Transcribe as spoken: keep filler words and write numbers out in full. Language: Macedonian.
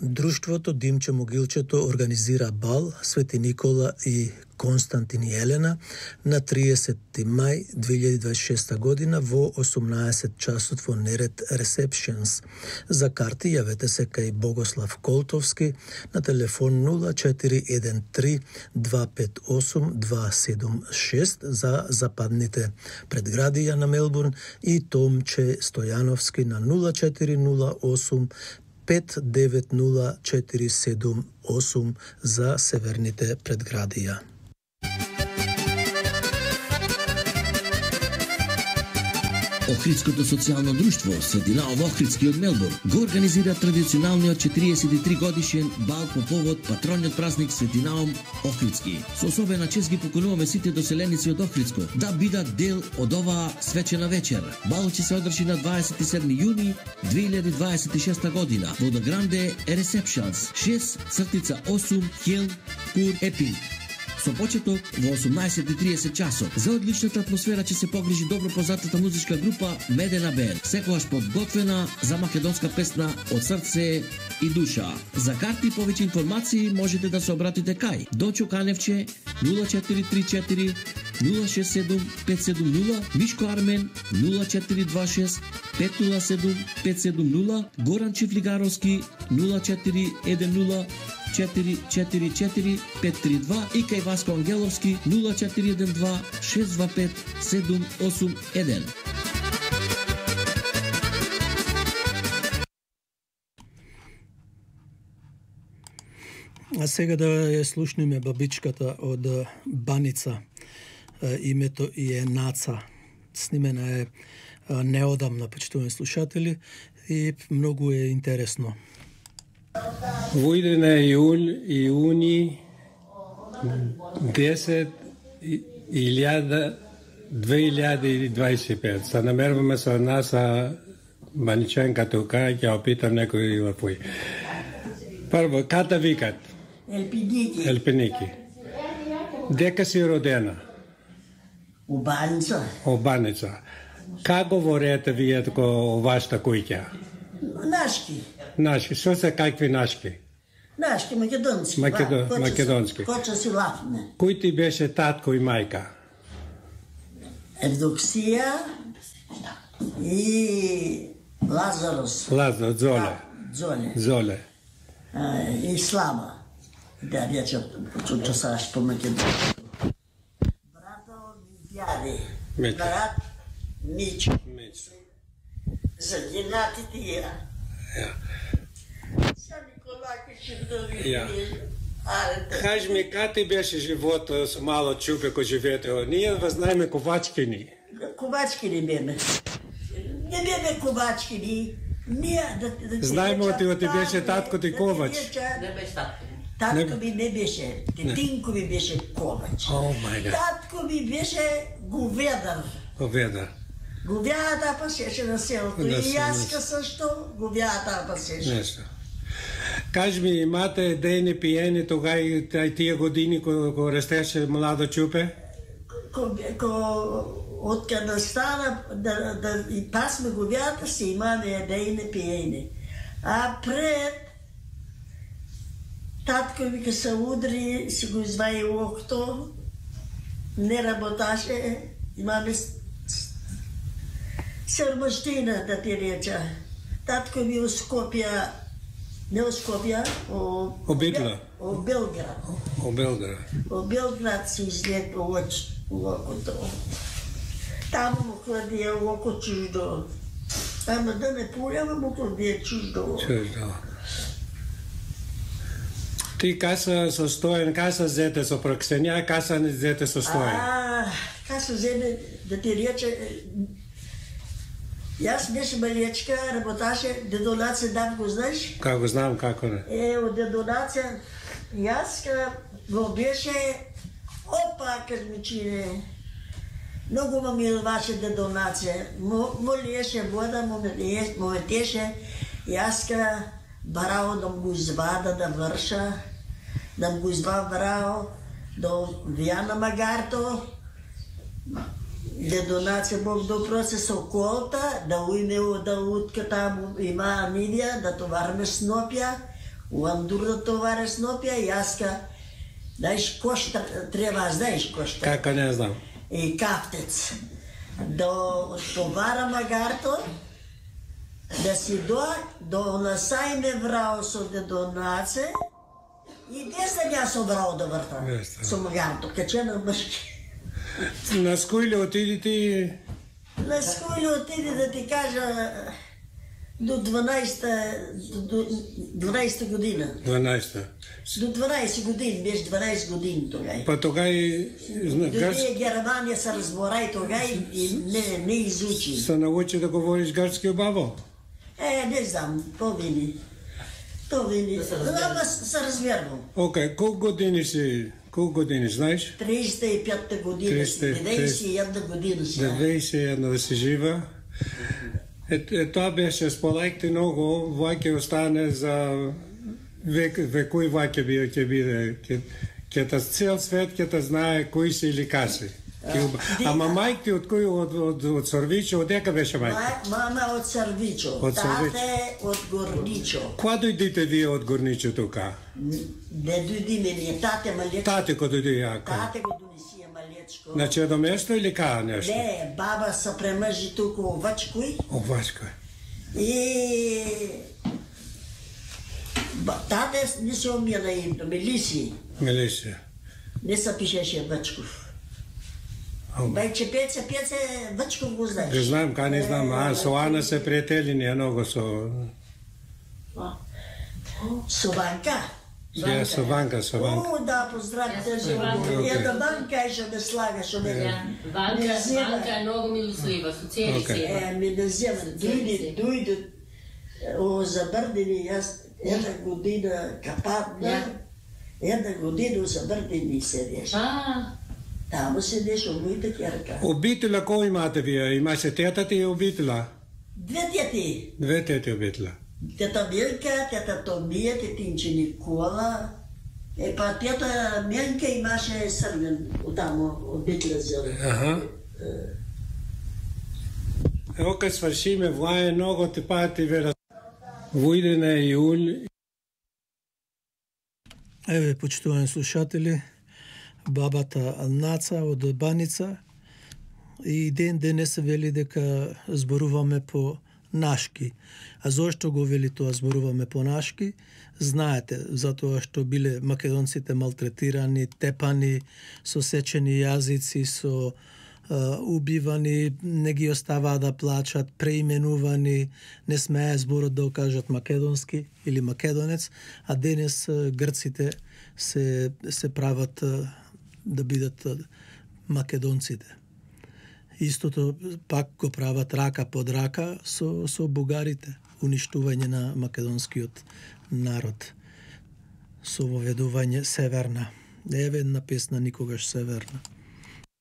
Друштвото Димче Могилчето организира бал Свети Никола и Константин и Елена на триесетти мај две илјади дваесет и шеста година во осумнаесет часот во Нерет Receptions. За карти јавете се кај Богослав Колтовски на телефон нула четири еден три два пет осум два седум шест за западните предградија на Мелбурн и Томче Стојановски на нула четири нула осум пет девет нула четири седум осум за северните предградија. Охридското социјално друштво Светинао во Охридски од Мелбурн го организира традиционалниот четириесет и три годишен бал по повод патрониот празник Светинао Охридски. Со особена чест ги покануваме сите доселеници од Охридско да бидат дел од оваа свечена вечер. Балот ќе се одржи на дваесет и седми јуни две илјади дваесет и шеста година во The Grande Receptions шест осум Хил Кур Епинг. Со почеток во осумнаесет и триесет часот. За одличната атмосфера ќе се погрижи добро познатата музичка група Медена Бенд, секогаш подготвена за македонска песна од срце и душа. За карти и повеќе информации можете да се обратите кај Дочо Каневче нула четири три четири нула шест седум пет седум нула, Мишко Армен нула четири два шест пет нула седум пет седум нула, Горан Чифлигаровски нула четири еден нула четири четири четири пет три два и кај Васко Ангеловски нула четири еден два шест два пет седум осум еден. А сега да ја слушнеме бабичката од Баница. Името и е Наца. Снимена е неодамна, почитувани слушатели, и многу е интересно. Во идене иул, иуни десет илјада две илјади дваесет и пет. Се намерваме со наша баничанка тука, ќе опитам некој во пој. Прво, ката викат? Елпиники. Елпиники. Дека си родена? У Баница. У Баница. Како говорите вие тако вашата куќа? Нашки. Нашки. Што се какви нашки? Нашки, македонски. Македо... Ва, македонски. Коча си лафне. Кој ти беше татко и мајка? Евдоксија и Лазарос. Лазар, Золе. Золе. Золе. А, и Слава. Да, рече, чучо саш по македонски. Брато ми дјаде. Брат Мичо. Мичо. Загинати тија. Ja. Ja. Кажи ми, как ти беше живота с мало чупе кој живеете? Ние вознаеме ковачкини. Ковачкини беме. Не беме ковачкини. Ние да, да знаеме оти оти беше татко ти ковач. Не беше татко. Татко ми не беше. Тетинко ми беше ковач. О мај гад. Татко ми беше говедар. Говедар. Говјата пасеше на селото. И јаска сашто говјата пасеше. Нешто. Кажи ми, имате дени пиени тога и тие години кога ко растеше младо чупе? Ко, ко од кога стана да, да и пасме говјата се имаме дени пиени. А пред татко ми ке се удри, си го изваи окто, не работаше, имаме срмаштина, да ти реча. Татко ми у Скопје, не у Скопје, о... О Битла? О Белград. О Белград. О Белград си излепа оч, окото. Таму му кладија око чуждо. Ама да не пуljava му кладија чуждо. Чуждо. Ти каса со Стојан, каса зете со Проксенја, каса не зете со Стојан? А, каса земе, да ти рече, јас беше малечка, работаше, дедонаце дам го знаеш? Како знам, како не. Е, од дедонаце, јас го беше, опа, кажмичине, многу ма милваше дедонаце, му лиеше вода, му метеше, јас барао да му извада да врша, да му извада барао до Вијана Магарто, дедонаце Бог допросе со колта, да уиме да утка таму има Нидија, да товарме снопја, У Андур да товариш снопија, јаска, знаеш кошта, треба, знаеш кошта. Како не знам. И кафтец. До товара магарто, да си до, до насајме врао со дедонаце, и десна ја со врао да врта. Со магарто, качена мршки. На скојле отидите? На скојле отиде да ти кажа до дванаесета до дванаесета година. дванаесета. До дванаесет години, беше дванаесет години тогај. Па тогај Додие Германија се разборај тогај и не не изучи. Се научи да говориш грчки убаво? Е, не знам, то вини. То вини. Ама се разберувам. Океј, колку години си? Колку години, знаеш? триесет и пета година, деветдесет и една година си. деветдесет и една да си жива. Е, е, тоа беше, споделихте многу, ваќе остане за век, векој ваќе биде, ќе биде, ќе ќе та цел свет ќе та знае кои си или каси. Ама мајки од кој од од од Сорвичо, од дека беше мајка? Мама од Сорвичо, тате од Горничо. Кога дојдите вие од Горничо тука? Не дојдиме ние, тате малечко. Тате кога дојде јако? Тате го донесија малечко. Значи едно место или кај нешто? Не, баба се премажи тука во Вачкој. О, Вачкој. И тате не се омија името, Мелисија. Мелисија. Не се пишеше Вачков. Бајче Пеце, Пеце Вачков го знаеш. Го знам, кај не знам, а со Ана се пријатели ние многу со... Со Ванка? Ја, со Ванка, со Ванка. О, да, поздравите. Една Ванка еше да слага со мене. Ванка е многу милослива, со цели се. Е, ми не зема, дојде, дојде, о, забрдени, јас една година капатна, една година забрдени седеш. Таму седеш од моите ќерка. Обителя кој имате вие? Имаше тетата и обителя? Две тети. Две тети обителя. Тета Милка, тета Томија, тетинче Никола. Е, па тета Милка имаше срмен таму обителя зеле. Аха. Ево кај свршиме, влае многу ти пати вера. Војде на июль. Еве, почитувани слушатели, бабата Наца од Баница, и ден денес се вели дека зборуваме по нашки. А зошто го вели тоа зборуваме по нашки? Знаете, затоа што биле македонците малтретирани, тепани, со сечени јазици, со Uh, убивани, не ги оставаа да плачат, преименувани, не смеа зборот да окажат македонски или македонец, а денес uh, грците се, се прават uh, да бидат uh, македонците. Истото пак го прават рака под рака со, со бугарите, уништување на македонскиот народ, со воведување северна. Еве една песна Никогаш северна.